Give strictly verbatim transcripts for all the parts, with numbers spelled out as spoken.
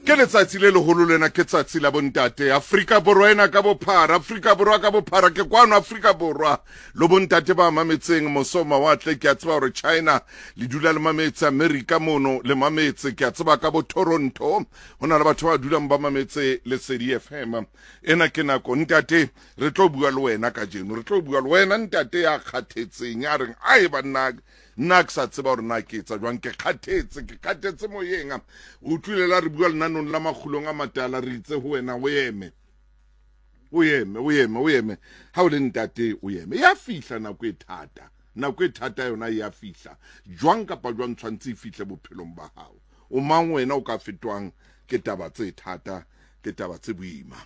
Ke letsatsi le leholo lena, ke tsatsi la bontate Afrika Borwa ena ka bophara, Afrika Borwa ka bophara, ke kwano Afrika Borwa lo bontate ba mametseng moso mawatle. Ke a tseba hore China le dula le mametse, America mono le mametse, ke a tseba ka bo Toronto ho na le batho ba dulang ba mametse Lesedi F M. Ena ke nako ntate, re tlo bua le wena kajeno, re tlo bua le wena ntate ya kgathetseng, ya reng ai banna nna ke sa tseba hore na ke etsa jwang, ke kgathetse, ke kgathetse moyeng. O utlwile la re bua lenanong la makgulong a matala, re itse ho wena o eme, o eme, o eme, o eme. Ha o le ntate o eme. Ya fihla nako e thata, nako e thata yona ya fihla jwang kapa jwang, tshwantse e fihle bophelong ba hao. O mang wena o ka fetwang ke taba tse thata, ke taba tse boima.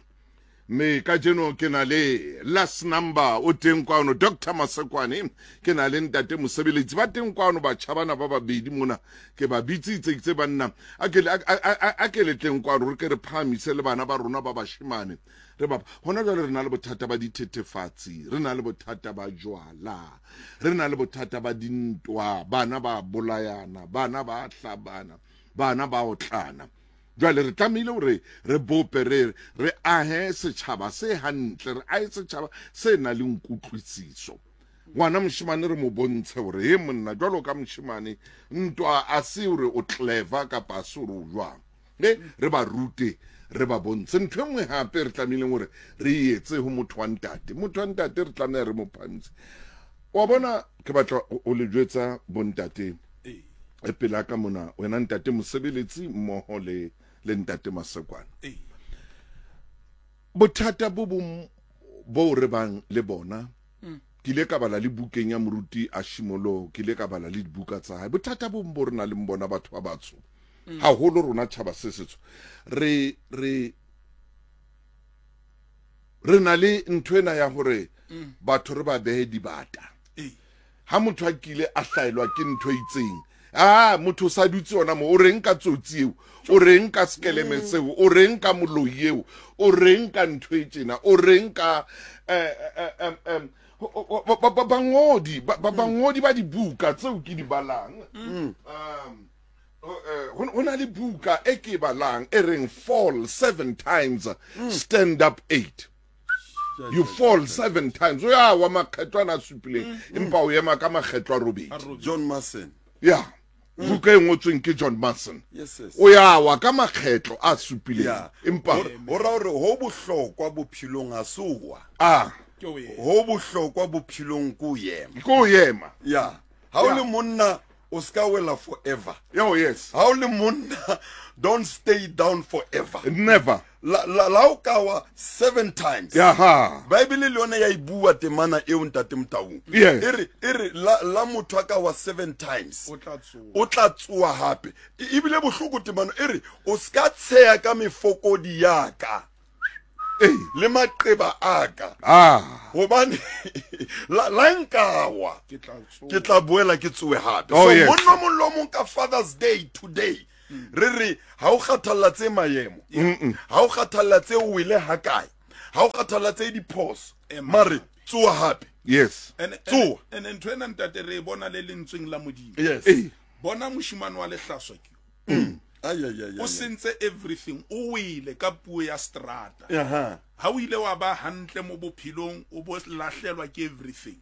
Me kajeno ke na le last number o teng kwano, Doctor Masekwane, ke na le ntate mosebeletsi ba teng kwano, batjha bana ba babedi mona ke ba bitsitse itse banna a ke a ke le tleng kwano, re ke re phahamise le bana ba rona ba bashemane. Re ba hona jwale re na le bothata ba dithethefatsi, re na le bothata ba jwala, re na le bothata ba dintwa, bana ba bolayana, bana ba hlabana, bana ba otlana. Jwale re tlamehile hore re bope, re re ahe setjhaba se hantle, re ahe setjhaba se nang le nkutlwisiso. Ngwana moshemane re mo bontshe hore he monna, jwalo ka moshemane ntwa a se hore o clever kapa a se hore o jwang. E re ba rute, re ba bontshe. Ntho e nngwe hape re tlamehileng hore re etse ho motho wa ntate, motho wa ntate re tlameha re mo phahamise. Wa bona, ke batla o le jwetsa bontate e pela ka mona, wena ntate mosebeletsi mmoho le le ntate Masekwane. Bothata bo bong bo re bang le bona, ke ile ka bala le bukeng ya moruti Ashimolo, ke ile ka bala le dibuka tsa hae. Bothata bo bong bo re nang le bona batho ba batsho, haholo rona tjhaba se setsho, re re re na le ntho ena ya hore batho re ba behe dibata. Ha motho a kile a hlaelwa ke ntho e itseng, ah motho sa dutse yona mo, o reng ka tsotsi eo, o reng ka skeleme seo, o reng ka moloi eo, o reng ka ntho e tjena, o reng ka eh eh eh bangodi bangodi ba dibuka tseo ke di balang. Um ho na le buka e ke balang e reng fall seven times, stand up eight. You fall seven times, o ya wa makgetlo ana a supileng, empa o ema ka makgetlo a robedi. John Mason. Yeah, buka e ngotsweng ke John Mason. Yes, yes. O ya wa ka makgetlo a supileng, empa ho ra hore ho bohlokwa bophelong ha se wa. Ah, ho bohlokwa bophelong ko yema. Ko yema. Yeah. Ha o le monna o ska wela forever. Oh yes. Ha o le monna, don't stay down forever. Never. La la la o ka wa seven times. Yeah. Bible le yona ya ibua temana eo ntate Motaung. Yes. Ere ere la la motho a ka wa seven times. O tla tsoa. O tla tsoa hape. Ebile bohloko temana ere o ska tsheya ka mefokodi ya ka. Eh. Le maqeba a ka. Ah. Hobane la la nkawa. Ke tla tsoa. Ke tla boela ke tsoe hape. Oh, So yes. monna mong le mong ka Father's Day today. Re re ha o kgathalla tse mayemo, ha o kgathalla tse o wele ha kae, ha o kgathalla tse diphoso, mare tsoa hape. Yes. And tsoa. And ntho ena ntate re bona le lentsweng la Modimo. Yes. Bona moshimane wa lehlaswa ke. Ay ay ay. O sentse everything, o wele ka puo ya strata. Aha. Ha o ile wa ba hantle mo bophelong, o bo lahlelwa ke everything.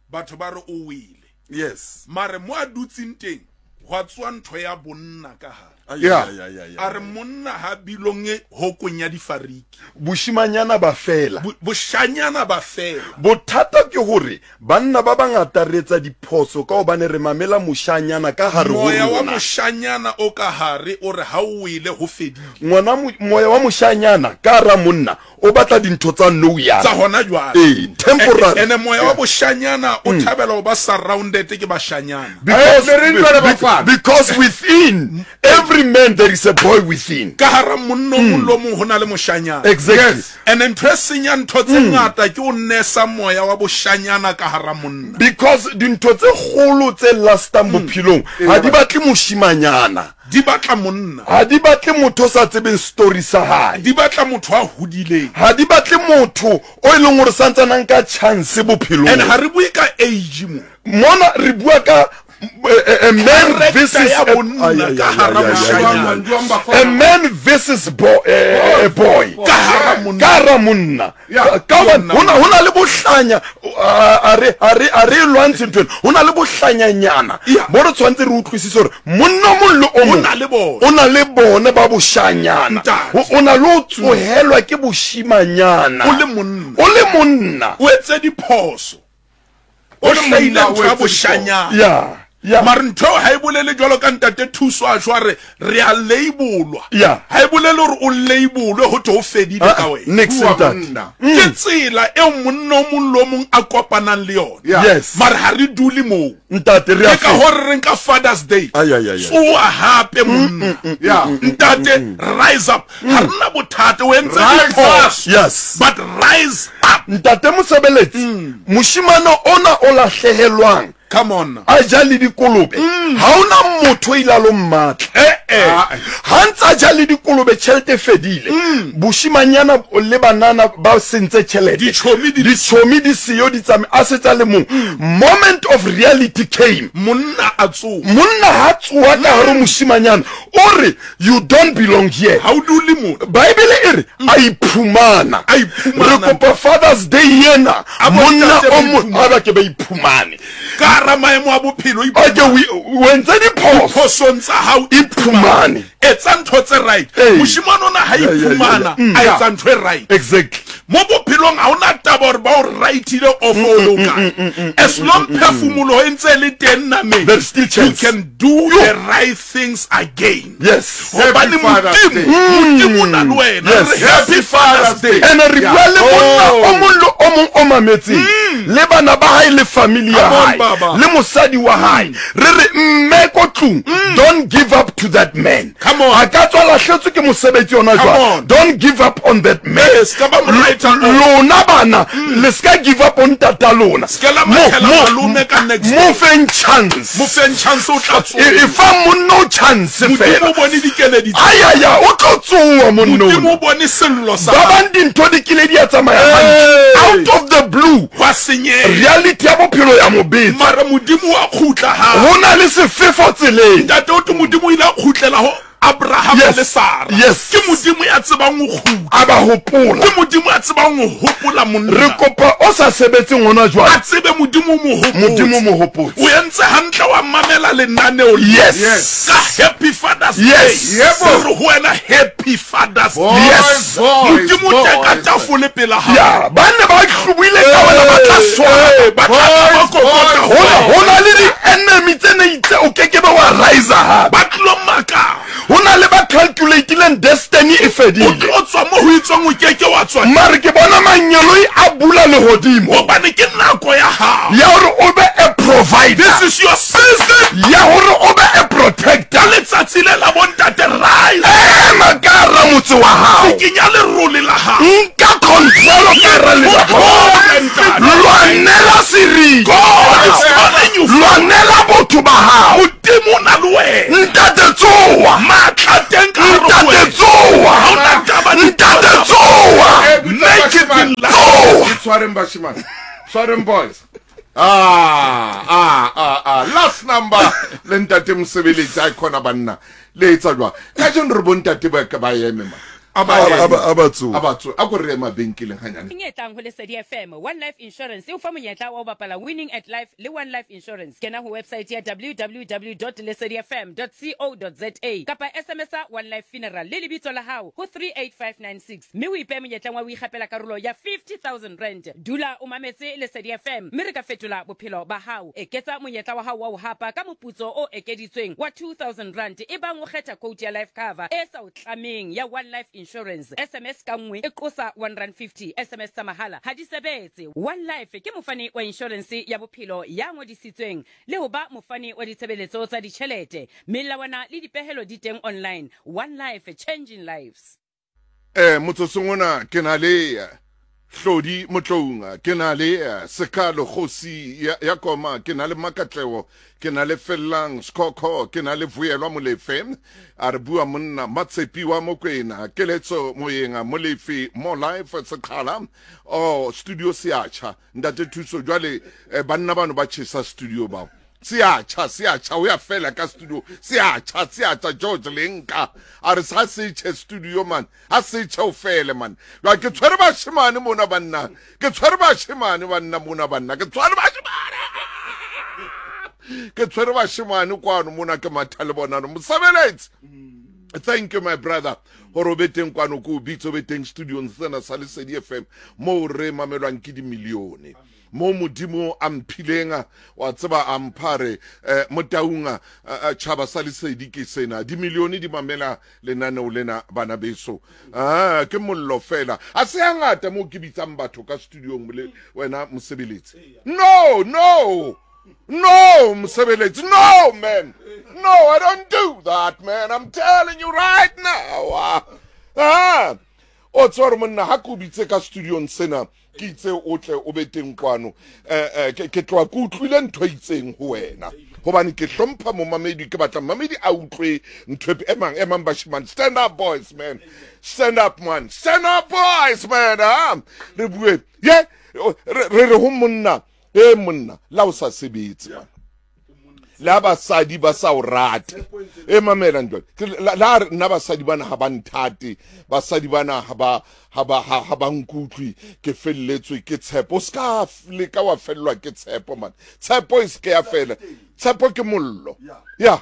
Batho ba re o wele. Yes. Mare mo a dutseng teng, hwa tswa ntho ya bonna ka hare. Yeah. A re monna ha bilonge hokong ya difariki. Boshimanyana ba fela. Boshanyana ba fela. Bothata ke hore banna ba bangata re etsa diphoso ka hobane re mamela moshanyana ka hare ho Moya wa rona. moshanyana o ka hare o re ha o wele ho fedile. Ngwana moya wa moshanyana ka hara monna o batla dintho tsa nou yana. Tsa hona jwale. Eh, temporary. Ene moya wa boshanyana o thabela ho ba surrounded ke bashanyana. Because, eh, because within every man there is a boy within. Ka hara monna o mong le mong ho na le moshanyana. Exactly. Yes. And ntho e senyang ntho tse ngata ke o nesa moya wa boshanyana ka hara monna. Because dintho tse kgolo tse lastang bophelong ha di batle moshimanyana. Di batla monna. Ha di batle motho o sa tsebeng story sa hae. Di batla motho a hodileng. Ha di batle motho o e leng hore santsana nka chance bophelong. And ha re bue ka age mo. Mona re bua ka A man versus a, a man versus bo, a, a boy. Ka hara monna. Ka hona hona le bohlanya a re a re a re lwantshe ntho. Hona le bohlanyanyana. Bo re tshwantse re utlwisise hore monna mong le o mong o na le bone ba boshanyana. O na le o tsohelwa ke boshimanyana. O le monna. O le monna. O etse diphoso. O hlaile ntho ya boshanyana. Yeah. Yeah. Mara ntho ha e bolele jwalo ka ntate Thuso a jwa re re a labelwa. Yeah. Ha e bolele hore o labelwe ho thwe o fedile ka wena. Next ntate. Ke tsela e monna o mong le o mong a kopanang le yona. Yes. Mara ha re dule moo. Ntate re a ke ka hore re nka Father's Day. Ay ay ay. Tsoa hape monna. Yeah. Ntate rise up. Ha rena bothata o entse diphoso. Yes. But rise up. Ntate mosebeletsi. Moshimane ona o lahlehelwang. Come on. A ja le dikolobe. Ha ona motho ila lo mmatla. Eh eh. Ha ntsa ja le dikolobe tjhelete fedile. Boshimanyana le banana ba sentse tjhelete. Dichomi di dichomi di siyo di tsame a setsa le mong. Moment of reality came. Monna a tsoa. Monna ha tsoa ka hare moshimanyana. O re you don't belong here. Ha o dule mo. Bible e re a iphumana. A iphumana. Re kopa Father's Day yena. Monna o mo a ba ke ba iphumane. Ka hara maemo a bophelo okay we wentse diphoso phosong tsa hao iphumane etsa ntho tse right moshimane ona ha iphumana a etsa ntho e right exactly mo bophelong ha ona taba hore ba o rightile off o loka as long phefumolo e ntse le teng nameng there's still chance you can do the right things again. Yes. Hobane Modimo Modimo o na le wena. Happy Father's Day. Ene re bua le monna o mong le o mong o mametseng le bana ba hae le family ya hae le mosadi wa hae re re mme ko tlung don't give up to that man. A ka tswa lahletswe ke mosebetsi ona jwang. Don't give up on that man. Lona bana le ska give up on tata lona. Mo feng chance. Mo feng chance o tla tsoa. E fa monna chance fela. Modimo o bone dikeledi. Ayaya o tlo tsoa monna. Modimo o bone sello sa. Ba bang dintho di kile di a tsamaya hantle. Out of the blue. Wa senyeha. Reality ya bophelo ya mobetsa. Mara Modimo wa khutla ha. Ho na le sefefo tseleng. Ntate o tlo Modimo ile a khutlela ho Abraham le Sarah. Yes. Ke Modimo ya tsebang ho kgutla. A ba hopola. Ke Modimo ya tsebang ho hopola monna. Re kopa o sa sebetseng hona jwale. A tsebe Modimo mo hopotse. Modimo mo hopotse. O entse hantle wa mamela lenaneo. Yes. Yes. Ka Happy Father's Day. Yes. Yebo. Re ho wena Happy Father's Day. Yes. Modimo o teka tafole pela hao. Ya, ba ne ba hlobuile ka wena ba tla swara. Ba tla ba kokota. Hona hona le di enemy tse ne itse o keke ba wa rise ha. Ba tlo maka. Hona le ba calculatileng destiny e fedile. O tlo tswa mo ho itswang o keke wa tswa. Mare ke bona mangeloi a bula lehodimo. Hobane ke nako ya hao. Ya hore o be a provider. This is your season. Ya hore o be a protector. Ka letsatsi le la bontate rise. Ema ka hara motse wa hao. Tsikinya lerole la hao. Nka control ka hara lelapa. Lwanela seriti. God is calling you. Lwanela botho ba hao. Modimo o na le wena. Ntate tsoa. Matla teng ka hare ho wena. Ntate tsoa. Ha ona taba Ntate tsoa. Make it in life. Tshwareng bashimane. Tshwareng boys. Ah, ah, ah, ah. Last number le ntate mosebeletsi a khona banna. Le etsa jwang? Kajeno re bontate ba ka ba eme ma. A ba tsoa. A ba tsoa. A ko re ema benkeleng hanyane. E tlang ho Lesedi F M, One Life Insurance e o fa monyetla wa ho bapala Winning at Life le One Life Insurance. Kena ho website ya w w w dot lesedi f m dot co dot za kapa S M S One Life Funeral le lebitso la hao ho three eight five nine six mme o ipehe monyetleng wa ho ikgapela karolo ya fifty thousand rand. Dula o mametse Lesedi F M mme re ka fetola bophelo ba hao. Eketsa monyetla wa hao wa ho hapa ka moputso o ekeditsweng wa two thousand rand e bang o kgetha quote ya life cover e sa o tlameng ya One Life Insurance. S M S ka nngwe e qosa one rand fifty. S M S tsa mahala ha di sebetse. One Life ke mofani wa insurance ya bophelo ya ngodisitsweng le ho ba mofani wa ditshebeletso tsa ditjhelete. Melawana le dipehelo di teng online. One Life, changing lives. Eh motsotsong ona ke na le Hlodi Motloung, ke na le Sekalo Kgosi ya, ya Koma, ke na le Makatleho, ke na le Fellang Skhokho, ke na le Vuyelwa Molefe, a re bua monna Matshepi wa Mokwena, Keletso Moyenga Molefe, Mo Life Sekhala, oh studio Seatjha, ntate Thuso jwale eh, banna bano ba tjhesa studio bao. Se a tjha, se a tjha, o ya fela ka studio. Se a tjha, se a tjha, George Lenka. A re sa se tjhe studio man. Ha se tjhe o fele man. Jwale ke tshwere bashemane mona banna. Ke tshwere bashemane banna mona banna. Ke tshwere bashemane. Ke tshwere bashemane kwano mona ke matha le bona. Mosebeletsi. Thank you my brother. Hore o be teng kwano ko o bitse o be teng studiong sena sa Lesedi F M moo re mamelwang ke dimilione. Mo modimo a mphileng wa tseba a mphare eh, motaunga tjhaba sa Lesedi ke sena dimilione di mamela lenaneo lena bana beso. Ah ke mollo fela a se hangata mo ke bitsang batho ka studiong le wena mosebeletsi. No no no mosebeletsi, no man, no, I don't do that man, I'm telling you right now. Ah o tsore monna ha ke bitse ka studiong sena ke itse o tle o be teng kwano eh ke tloa ke utlwile ntho itseng ho wena hobane ke hlompha momamedi, ke batla momamedi a utlwe ntho e emang emang bashimane. Stand up boys man, stand up man, stand up boys man. Ah re bue ye re re ho monna e monna la o sa sebetse man, la basadi ba sa o rate e mamela ntwa la nna basadi bana ha ba nthate, basadi bana ha ba ha ba ha ba nkutlwi, ke felletswe ke tshepo. O ska leka wa fellwa ke tshepo man, tshepo e se ya fela. Tshepo ke mollo, ya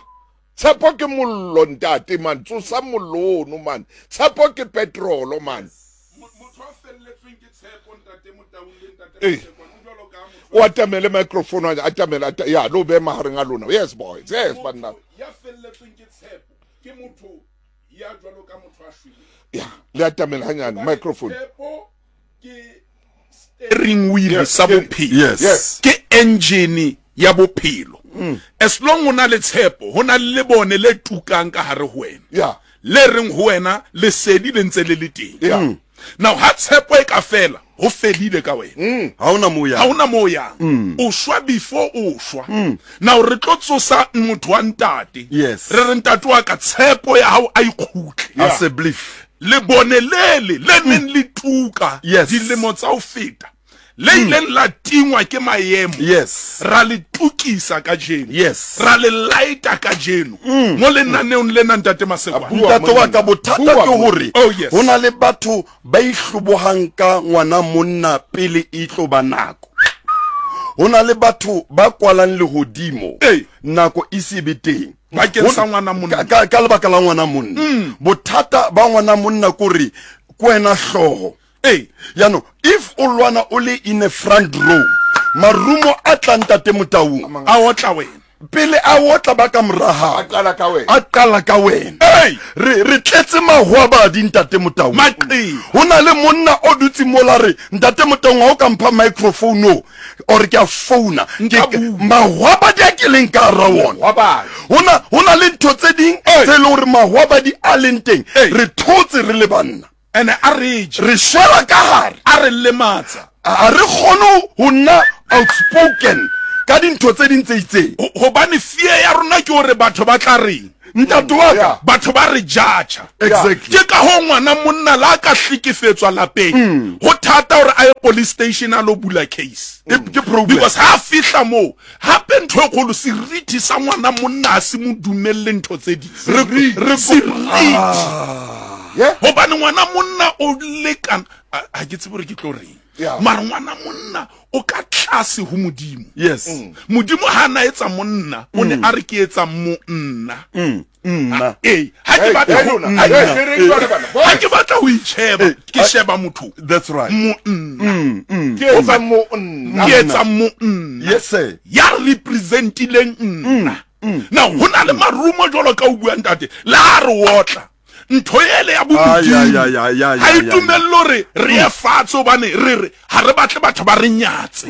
tshepo ke mollo ntate man, tsosa mollo ono man, tshepo ke petrolo man. Motho a felletsweng ke tshepo ntate Motaung le ntate Mosekwane o jwalo ka motho o atamele microphone a atamele ya lo be mahareng a lona. Yes boys, yes banna. Ya felletsweng ke tshepo ke motho ya jwalo ka motho a shweleng. Ya le atamele hanyane microphone. Tshepo ke steering wheel sa bophelo. Yes, ke engine ya bophelo. As long o na le tshepo ho na le lebone le tukang ka hare ho wena. Yeah, le reng ho wena lesedi le ntse le le teng. Yeah. Now ha tshepo e ka fela ho fedile ka wena, ha ona mo yang, ha ona mo yang, o shwa before o shwa. Now re tlo tsosa motho wa ntate. Yes, re re ntate wa ka tshepo ya hao a ikgutle a se belief le bone lele le neng le tuka dilemo tsa ho feta le ileng la tingwa ke maemo. Yes, ra le tukisa kajeno. Yes, ra le lighta kajeno mo lenaneong lena ntate Masekwane. Ntate wa ka bothata ke hore oh, ho na le batho ba ihlobohang ka ngwana monna pele e tlo ba nako. Ho na le batho ba kwalang lehodimo nako e se be teng bakeng sa ngwana monna, ka ka lebaka la ngwana monna. Bothata ba ngwana monna kore ke wena hlooho. Hey, yano if o lwana o le in a front row, marumo a tla ntate Motaung a otla wena pele a otla ba ka moraha a qala ka wena, a qala ka wena. Hey, re re tletse mahwabadi ntate Motaung. Maqi ho na le monna o dutse mola re ntate Motaung ha o ka mpha microphone o or ke a founa ke mahwabadi a ke leng ka ra wona. Hona hona le ntho tse ding tse le hore mahwabadi a leng teng re thotse re le banna. Ene a re je re shwela ka hare, a re lematsa, a re kgone ho nna outspoken ka dintho tse ding tse itseng. Hobane fear ya rona ke hore batho ba tla reng ntate wa ka, batho ba re judge. Exactly. Ke ka ho ngwana monna la ka hlekefetswa lapeng ho thata hore a ye police station a lo bula case. Ke problem because ha fihla moo hape ntho e kgolo seriti sa ngwana monna a se mo dumelle ntho tse ding. Re seriti Yeah. Hobane ngwana monna o lekana ha ke tsebe hore ke tlo reng. Mara ngwana monna o ka tlase ho modimo. Yes. Modimo ha na etsa monna o ne a re ke etsa monna. Nna. Eh, ha ke batla ho ha ke batla ho itsheba ke sheba motho. That's right. Monna. Ke etsa monna. Ke etsa monna. Yes sir. Ya representileng nna. Now hona le marumo jwalo ka o bua ntate la re otla ntho ele ya bomodimo ha e dumelle hore re ye fatshe hobane re re ha re batle batho ba re nyatse.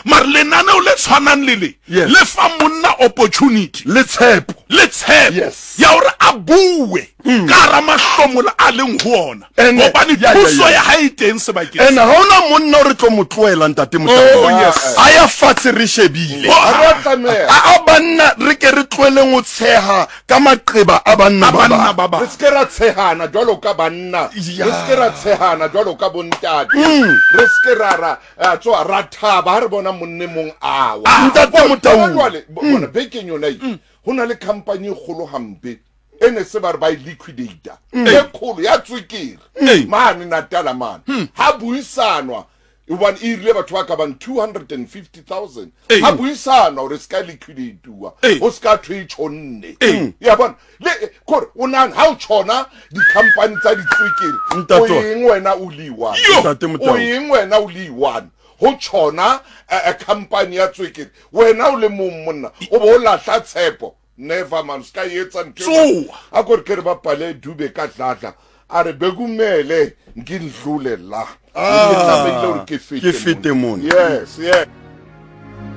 Mara lenaneo le tshwanang le le le fa monna opportunity le tshepo le tshepo ya hore a bue. Ka hara mahlomola a leng ho ona. Hobane thuso ya hae e teng sebakeng. And ha hona monna o re tlo mo tlohela ntate Motau. Oh yes. A ya fatshe re shebile. A a banna re ke re tlohelleng ho tsheha ka maqeba a banna ba ba. Re se ke ra tshehana jwalo ka banna. Re se ke ra tshehana jwalo ka bontate. Re se ke ra ra tswa ra thaba ha re bona monne mong awa. Ntate Motau. Jwale bona bekeng yona e ho na le company e kgolo hampe. Ene se ba re ba e liquidator e kgolo ya tswekere mane Natala mane ha buisanwa hobane e rile batho ba ka bang two hundred fifty thousand ha buisanwa hore se ka liquidatuwa ho se ka thwe e tjhonne ya bona le kore o nang ha o tjhona di-company tsa ditswekere o eng wena o le one o eng wena o le one ho tjhona company ya tswekere wena o le mong monna o bo o lahla tshepo. Never man ska etsa ntho a gore ke re bapale Dube ka tlatla a re bekumele ngindlule la ke tlamehile hore ke fete mona. Yes, yes.